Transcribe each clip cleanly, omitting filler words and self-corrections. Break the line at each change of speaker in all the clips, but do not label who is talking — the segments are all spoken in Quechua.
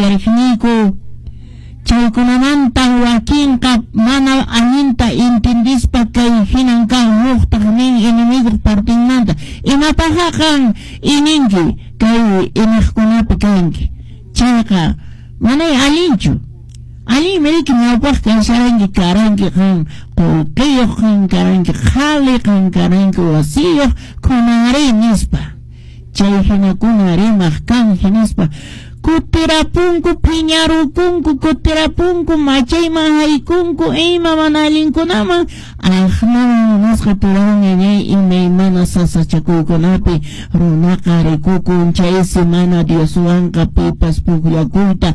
uyariqniyku. Chaykunamantan wakinqa mana allinta intindispa kay hinan kan, huqtaq nin enemiguq partinmanta. Imapaqqa qan ininki kay iniqkunapi kanki? Chayqa manay allinchu. Allinmi riki ñawpaq kasharanki karanki qan qullqiyuq, qan karanki qhali, qan karanki wasiyuq, kunanri nispa. Chay hinakuna rimaq kan hinaspa kutirapunku, phiñarukunku, kutirapunku, machayman haykunku, ima mana allinkunaman, aqnaman munasqa turay ñañay imaymana sasachakuykunapi runaqa rikukun. Chaysi mana Dioswanqa pipas pukllakuyta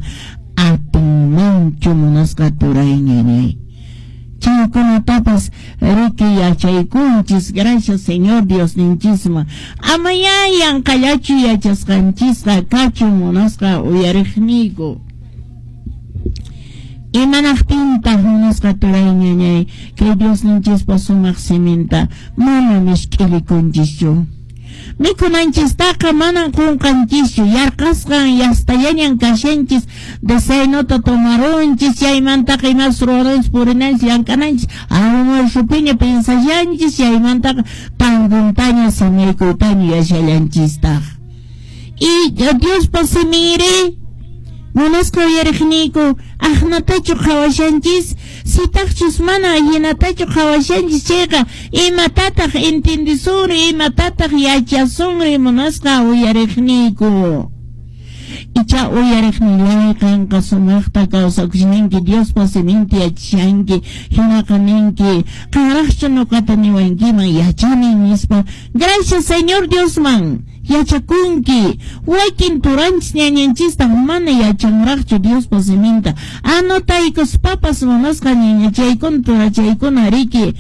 atinmanchu munasqa turay ñañay. Chaykunatapas riki yachaykunchis, gracias Señor Diosninchisman. Amayá yanqallachu yachasqanchisqa kachun munasqa uyariqniyku. Imanaqtintaq munasqa turay ñañay kay Diosninchispa sumaq siminta mana misk'ilikunchischu? Mikhunanchistaqa manan qunqanchischu, yarqasqan yastallañan kashanchis, desayunota tomarunchis, chaymantaqa imas ruwananchis, purinanchis, llank'ananchis, almuerzopiña pensashanchis, chaymantaqa tardontaña samaykuytaña yuyashallanchistaq. Y Diospa siminri, munasqa uyariqniyku, aqnatachu qhawashanchis? Sitaqchus mana hinatachu qhawashanchis chayqa, imatataq entendesunri, imatataq yachasunri munasqa uyariqniyku? Icha uyariqnillay qanqa sumaqta kawsakushanki, Diospa siminta yachashanki, hinaqa ninki, qanraqchu ñuqata niwankiman yachani nispa. Gracias Señor Diosman yachakunki. Wakin turanchis ñañanchistaq mana yachanraqchu Diospa siminta. Anotaykuspapas munasqa ñañachaykuna turachaykuna riki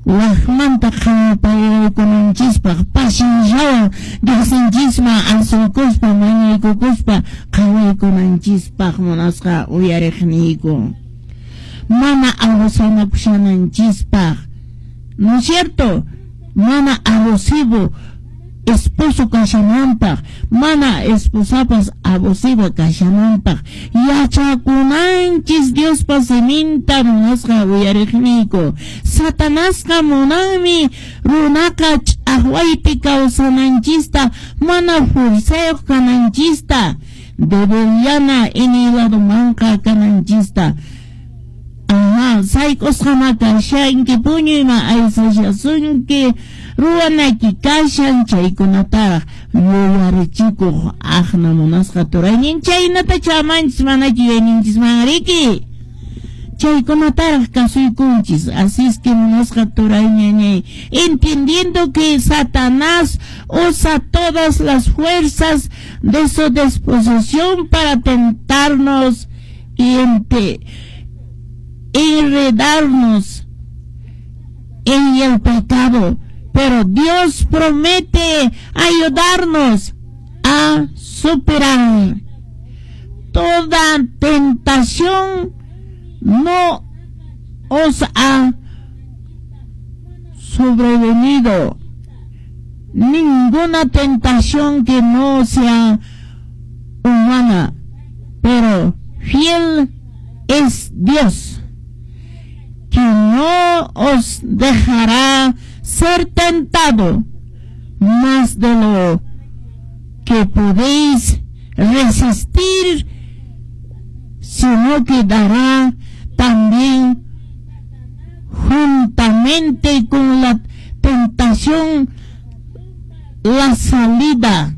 waqmanta qhawapayaykunanchispaq pacienciawan Diosninchisman asuykuspa mañaykukuspa qhawaykunanchispaq munasqa uyariqniyku. Mana abusanakushananchispaq, ¿no es cierto? Mana abusivo esposo kashananpaq, mana esposapas abusiva kashananpaq yachakunanchis Diospa siminta munasqa uyariqniyku. Satanasqa munanmi runaqa ch'aqwaypi kawsananchista, mana fuerzayuq kananchista, debilllana iñiy ladomanqa kananchista. Ajá, sayk'usqama kashanki, puñuyman aysashasunki, ruwanayki kashan, chaykunataraq yuyarichikuq aqna munasqa turaynin, chaynata chamanchis manachu yuyayninchisman riki. Chaykunataraq kasuykunchis. Así es que munasqa turay ñañay, entendiendo que Satanás usa todas las fuerzas de su disposición para tentarnos y enredarnos en el pecado, pero Dios promete ayudarnos a superar toda tentación. No os ha sobrevenido ninguna tentación que no sea humana, pero fiel es Dios, que no os dejará ser tentado más de lo que podéis resistir, sino que dará también juntamente con la tentación la salida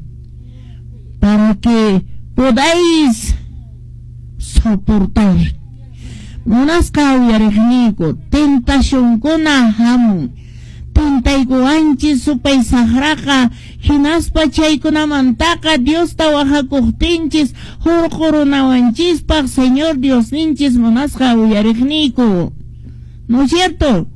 para que podáis soportar. Munasqa uyariqniyku, tentacionkuna hamun, tentaykuwanchis supay saqraqa, hinaspa chaykunamantaqa Diosta wahakuqtinchis hurqurunawanchispaq Señor Diosninchis munasqa uyariqniyku, ¿no es cierto?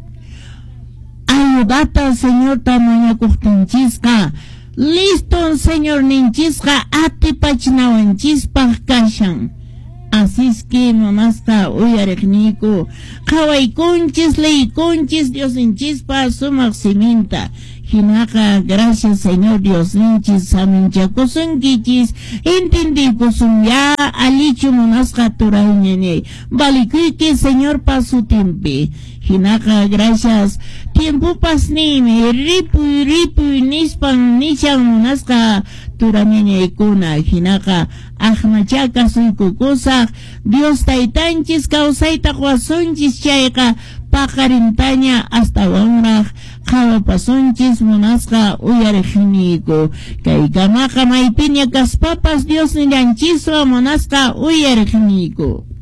Ayudata Señorta mañakuqtinchisqa listo Señorninchisqa atipachinawanchispaq kashan. Así es que munasqa uyariqniyku, qhawaykunchis, leykunchis Diosninchispa sumaq siminta. Hinaqa gracias Señor Diosninchis saminchakusunkichis, entendiykusunyá allichu munasqa turay ñañay. Valikuyki Señorpa sutinpi. Hinaqa gracias tiempopas ninmi ripuy ripuy nispan nishan munasqa turañañaykuna. Hinaqa aqnacha kasuykukusaq Dios taytanchis kawsayta quwasunchis chayqa paqarintaña astawanraq qhawapasunchis munasqa uyariqniyku. Kaykamaqa maypiña kaspapas Dios nillanchiswan munasqa uyariqniyku.